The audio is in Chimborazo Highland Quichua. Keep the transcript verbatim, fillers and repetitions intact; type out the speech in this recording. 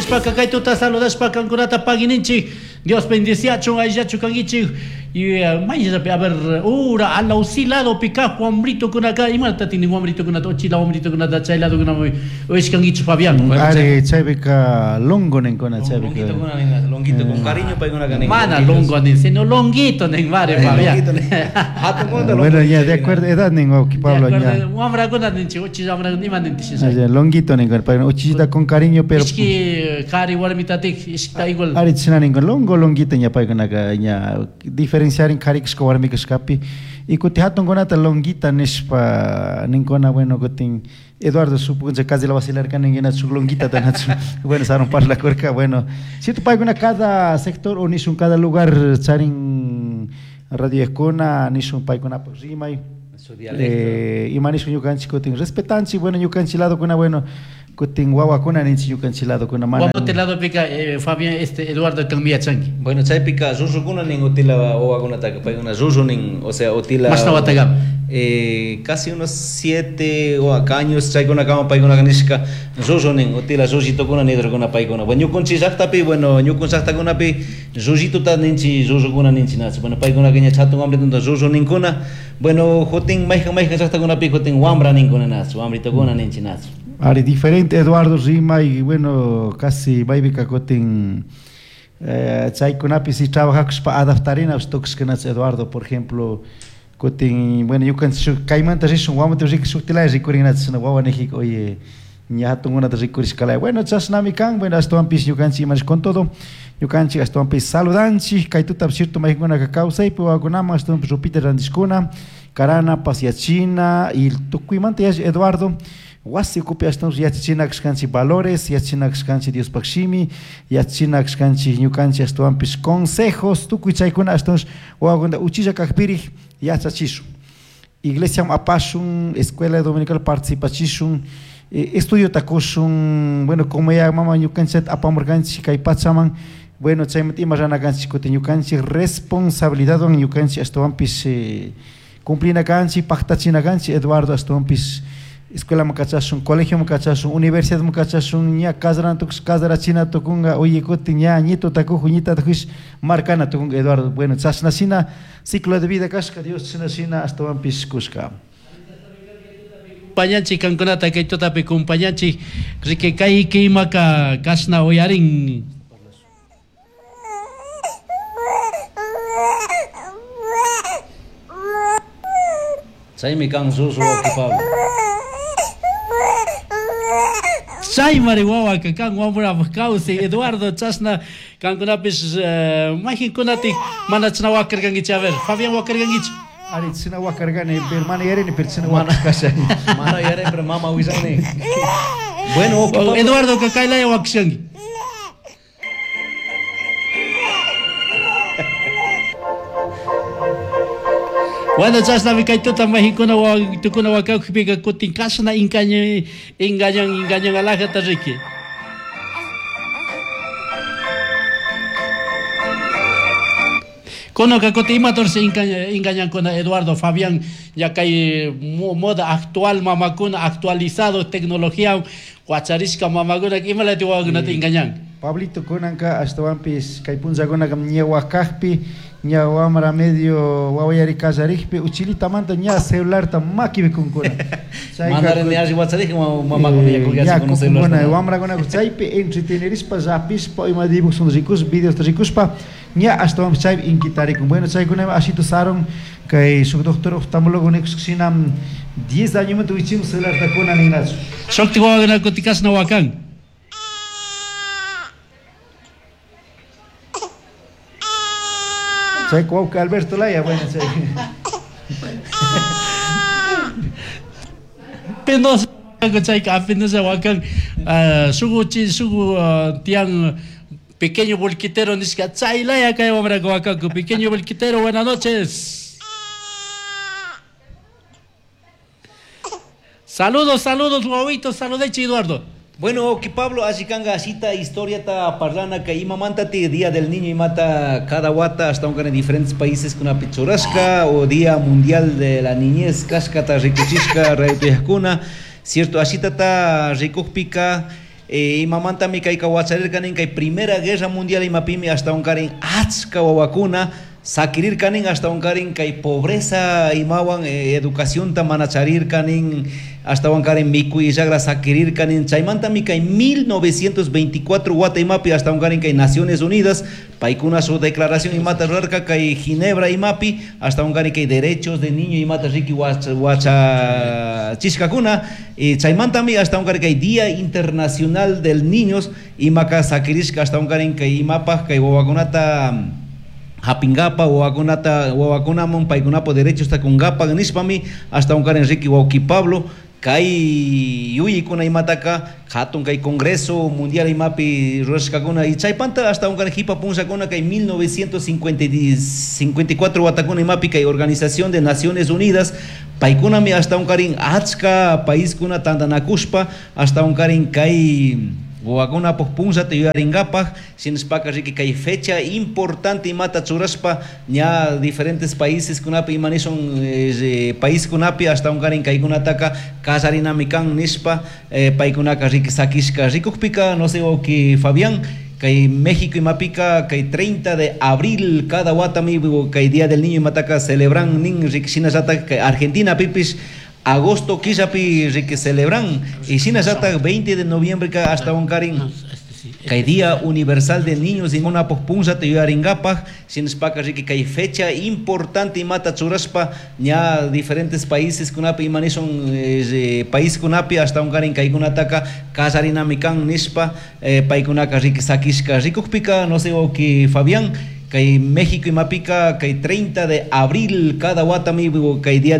Nishpaka kay tuta saludashpa kankunata pagininchik. Dios bendiciachun ayllachu kankichik. Y mayllapi a ver ura alausi lado pika wamritukunaka imata tinin wamritukunata uchila wamritukunata chay ladokunaman uyashkankichik Fabián. Ari chaypika longo ninkuna chaypika. Longuito nin, longuito con cariño paykunaka nin. Mana longo nin, sino longuito nin mare Fabián. Bueno, ya de acuerdo edad nin wawki Pablo ya. Wamrakuna ninchik uchilla wamrakuna ima nintish. Longuito nin, pero uchillita con cariño pero Ishki qhari warmitatik ishkita igual. Ari china nin longo longuito ña paykunaka ña diferenciar qhari kashka warmi kashkapi y kuti hatunkunata longuita nishpa ninkuna bueno kutin Eduardo supongo casi la vacilar ninguna su longuita tanachu bueno saron parlakurka bueno cierto paykuna cada sector o nishun cada lugar charin radiokuna nishun paykunapak rimay eh, ima nishun ñukanchik kutin respetanchik bueno ñukanchik ladokuna bueno kutin wawakuna ninchik ñukanchik ladokuna mana Guamote ladopika eh, Fabián este Eduardo kanmi yachanki. Bueno chaypika rurukuna nin utila wawakunataka paykuna ruru nin o sea utila Mashna watakama. Eh, casi unos siete o años chaykunakama paykunaka nishka ruru nin utila rullitukuna nidurkuna paykuna bueno ñukunchik llaqtapi bueno ñukun llaqtakunapi rullituta ninchik rurukuna ninchik nachu bueno paykunaka ña hatun wamritunta ruru ninkuna bueno jutin mayjan mayjan llaqtakunapi jutin wambra ninkuna nachu wamritukuna ninchik nachu. Ari diferente Eduardo rima y bueno casi maypika kutin eh, chaykunapi si trabajakushpa adaptarina tukushkanachu Eduardo por ejemplo kutin bueno ñukanchik kaymanta rishun wamata rikush shuktilaya rikurinachik wawa nijik oye ña hatunkunata rikurishkalaya bueno chashnami kan bueno ashtawanpish ñukanchik imanish con todo ñukanchik ashtawanpish saludanchik kay tutapi cierto maykunaka kawsaypi wawakunaman ashtawanpish rupita rantishkuna karana pasiachina y tukuymanta yash Eduardo wasi ukupi ashtawanpish yachachina kashkanchik valores yachachina kashkanchik Diospaq shimi yachachina kashkanchik ñukanchik ashtawanpish consejos tukuy chaykuna ashtawanpish wawakunata uchilla kakpirik yachachishun iglesiaman apashun escuela dominical participachishun eh, estudiota kushun bueno como ya mama ñukanchik apamurkanchik kay pachaman bueno chaymanta ima rana kanchik kutin ñukanchik responsabilidadwan ñukanchik ashtawanpish eh, cumplina kanchik paqtachina kanchik Eduardo ashtawanpish escuelaman kachashun colegioman kachashun universidadman kachashun ña kasarana tukush kasarachina tukunka oye kutin ña ñituta kuju ñitata kush markana tukunka Eduardo bueno chashna shina ciclo de vida kashka Dios chashna shina ashtawanpish kushka. Compañanchik kankunata kay tutapi compañanchik riki kay kimaka kashna uyarin. Chaymi kan ruru wawki Pablo. Chay mari wawaka kan wamrapaq kawsay Eduardo chashna kankunapish mayqinkunatik mana chashna wakarkankichik a ver Fabián wakarkankichik. Ari chashna wakarkani pero mana yarini pero chashna wakashkashani. Mana yarini pero mama willani. Bueno wawki Pablo. Eduardo kaylaya wakashanki. Bueno, chashnami kay tuta mayqinkuna wawitukuna wakakupika kutin kashna engañan engañan engañan alajata riki. Kunaka kutin imatorsi engañankuna Eduardo Fabián ya kay moda actual mamakuna actualizado tecnología wacharishka mamakuna imalati wawakunata engañan. Pablito kunanka ashtawanpish kay punllakunaka ña wakakpi ña wamra medio wawayari kallarikpi uchilitamanta ña celularta makipi kunkuna. Mandarani alli wacharij mamakuna ña kullachikuna celularta. Wamrakuna chaypi entretenerishpa llapishpa ima dibujos rikushpa videos rikushpa ña ashtawanpish chaypi inquitarikun. Bueno chaykunami ashito sarun kay shuk doctor oftalmólogo nikushkashina diez añomanta wichimun celularta kuna ninachu. Shukti wawakuna kutin kashna wakan. Chay wawki Alberto Laya, bueno, chay. Penosa chayka apenas wakan shugu chi shugu tian pequeño volquitero nishka chaylaya kay wamraka wakanku pequeño volquitero buenas noches. Saludos, saludos, wawitos, saludechi Eduardo. Bueno, que Pablo, así kanga asita historia ta parlana que imamantati Día del Niño y mata cada wata hasta un en diferentes países con una pichurasca o Día Mundial de la Niñez, kashka ta rikuchishka rayutuyakuna, cierto, asita ta rikukpika eh, imamantami kayka wacharirka nin kay Primera Guerra Mundial imapimi ashtawankarin achka wawakuna sakirirka nin ashtawankarin kay pobreza imawan eh, educacionta mana charirka nin ashtawankarin mikuy llagra sakirirka nin chaymantami kay mil novecientos veinticuatro wata imapi ashtawankarin kay Naciones Unidas paykuna su declaración imata rurarka kay Ginebra imapi ashtawankarin kay derechos de niño imata riki wacha, wacha chishkakuna y chaymantami ashtawankarin kay Día Internacional del Niños imaka sakirishka ashtawankarin kay imapaj kay wawakunata hapingapa wawakunata wawakunaman paykunapo derechos takunkapa nishpami ashtawankarin riki wawki Pablo kay yuyikuna imataka hatun kay Congreso Mundial imapi rurashkakuna y chaypanta ashtawankarin hipa punllakuna kay mil novecientos cincuenta y cincuenta y cuatro watakuna imapi kay Organización de Naciones Unidas paykunami ashtawankarin achka paiskuna tantanakushpa ashtawankarin kay wawakunapaj punllata yuyarinkapaj shinashpaka riki kay fecha importante imata churashpa ña diferentes países kunapi ima nishun, eh, país kunapi ashtawankarin kaykunataka kallarinami kan nishpa, eh, paykunaka riki sakishka rikukpika no sé wawki Fabián kay México imapika kay treinta de abril cada watami kay Día del Niño imataka celebran nin riki shinallata kay Argentina pipish agosto killapi riki celebran y shinallata veinte de noviembre ka ashtawankarin kay Día Universal de Niños y munapaj punllata yuyarinkapaj shinashpaka riki kay fecha importante imata churashpa ña diferentes países kunapi ima nishun, eh, país kunapi ashtawankarin kaykunataka kallarinami kan nishpa, eh, paykunaka riki sakishka rikukpika no sé wawki Fabián kay México imapika kay treinta de abril cada watami kay Día del